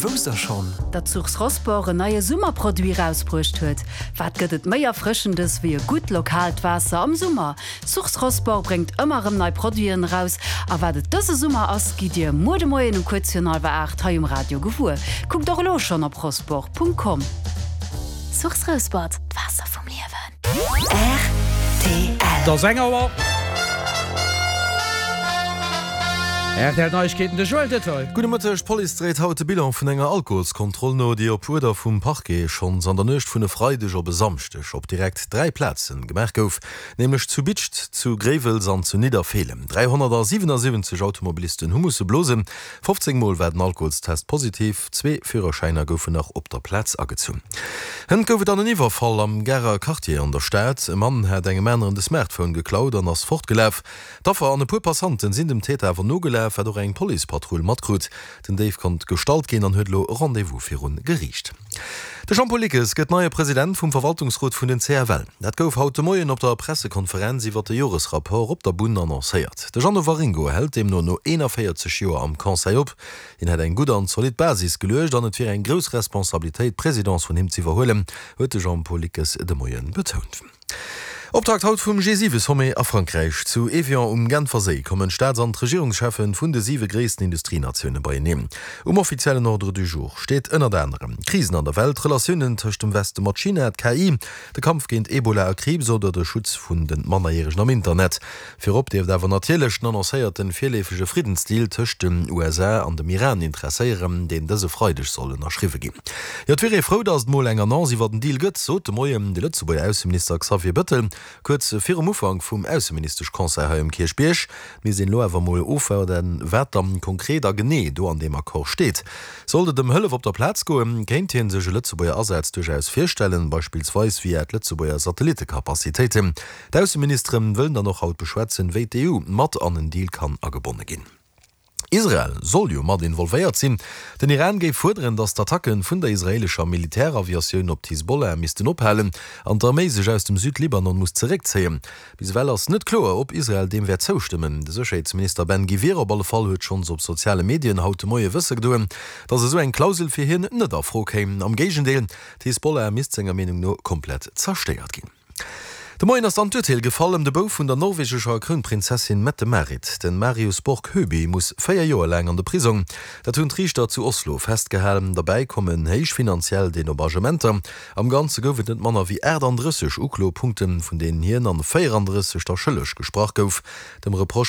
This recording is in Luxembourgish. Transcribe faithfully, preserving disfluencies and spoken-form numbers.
Wousst der schonn? Datt Source Rosport en neie Summerproduit rausbruecht huet. Wat gëtt et méi Erfrëschendes wéi e gutt lokaalt Waasser am Summer? Source Rosport bréngt ëmmer erëm nei Produiten eraus a wat et dëse Summer ass, gitt Dir muer de Moien um kuerz virun hallwer aacht hei um Radio gewuer. Kuckt och elo schonn op rosport Punkt com. Source Rosport, d'Waasser vum Liewen. Rtl. Et ass eng Auer. Rtl Neiegkeeten, de Joël Detail. Gudde Mëtteg, D'Police dréit haut de Bilan vun enger Alkoholskontroll no, déi op Uerder vum Parquet schonns an der Nuecht vun e Freideg op e Samschdeg op direkt dräi Plazen gemaach gouf, nämlech zu Bidscht, zu Gréiwels an zu Nidderfeelen. dräihonnertsiwwenasiwwenzeg Automobilisten hu musse blosen, fofzéng Mol war den Alkoholstest positiv, zwee Führerschäiner goufen nach op der Plaz agezunn. Hënt gouf et dann en Iwwerfall am Garer Quartier an der Stad. E Mann hat engem aneren de Smartphone geklaut an ass fortgelaf. D'Affer an e puer Passanten sinn dem Täter awer nogelaf, wat och eng Policepatrull matkrut. Den Déif konnt gestallt ginn an huet elo e Rendez-vous virun Geriicht. De Jean-Paul Lickes gëtt neie President vum Verwaltungsrot vun den C F L. Dat gouf haut de Moien op der Pressekonferenz iwwer de Joresrapport op der Bunn annoncéiert. De Jeannot Waringo hält deemno no eenanvéierzeg Joer am Conseil op. Hien hätt eng gutt an zolidd Basis geluecht an et wier eng grouss Responsabilitéit, d'Presidence vun him z'iwwerhuelen, huet de Jean-Paul Lickes de Moie betount. Optakt haut vum G siwe Sommet a Frankräich. Zu Evian um Genfer Séi kommen d'Staats an d'Regierungscheffen vun de siwe gréissten Industrienatioune beieneen. Um offiziellen Ordre du jour steet ënnert anerem d'Krisen an der Welt, d'Relatiounen tëscht dem Weste mat China, d'K I, de Kampf géint Ebola a Kriibs oder de Schutz vun de Mannerjäregen am Internet. Virop dierft awer natierlech den annoncéierte virleefege Friddensdeal tëscht den U S A an dem Iran interesséieren, deen dëse Freideg soll ënnerschriwwe ginn. Jo, et wier ee frou, datt et mol eng Annonce iwwer den Deal gëtt, sot de Moien de Lëtzebuerger Ausseminister Xavier Bettel kuerz virum Ufank vum Ausseministesch-Conseil hei um Kierchbierg. Et misst een elo awer mol ofwaarden, wat dann konkret a genee do an deem Accord steet. Sollt et ëm Hëllef op der Plaz goen, kéint hie sech e Lëtzebuerger Asaz duerchaus virstellen, beispillsweis via d'Lëtzebuerger Satellittecapacitéiten. D'Ausseministere wëllen dann och haut beschwätzen, wéi d'E U mat an en Deal kann agebonne ginn. Israel soll jo mat involvéiert sinn. Den Iran géif fuerderen, datt d'Attacke vun der israeelescher Militäraviatioun op d'Hisbollah missten ophalen an d'Arméi sech aus dem Südlibanon muss zeréckzéien. Bis ewell ass net kloer, ob Israel deem wäert zoustëmmen. De Sécherheetsminister Ben Gvir op alle Fall huet schonns op soziale Medien haut de Moie wësse gedoen, datt esou eng Klausel fir hien net a Fro kéim. Am Géigendeel, d'Hisbollah misst senger Meenung no komplett zerstéiert ginn. De Moien ass dann d'Urteel gefall ëm de Bouf vun der norwegescher Krounprinzessin Mette-Marit. Den Marius Borg Høiby muss véier Joer laang an de Prisong. Dat hunn d'Riichter zu Oslo festgehalen. Derbäi kommen héich finanziell Dedommagementer. Am Ganze gouf et net manner wéi aachtanddrësseg Uklopunkten, vun deenen hien an véierandrësseg da schëlleg gesprach gouf. Dem Reproche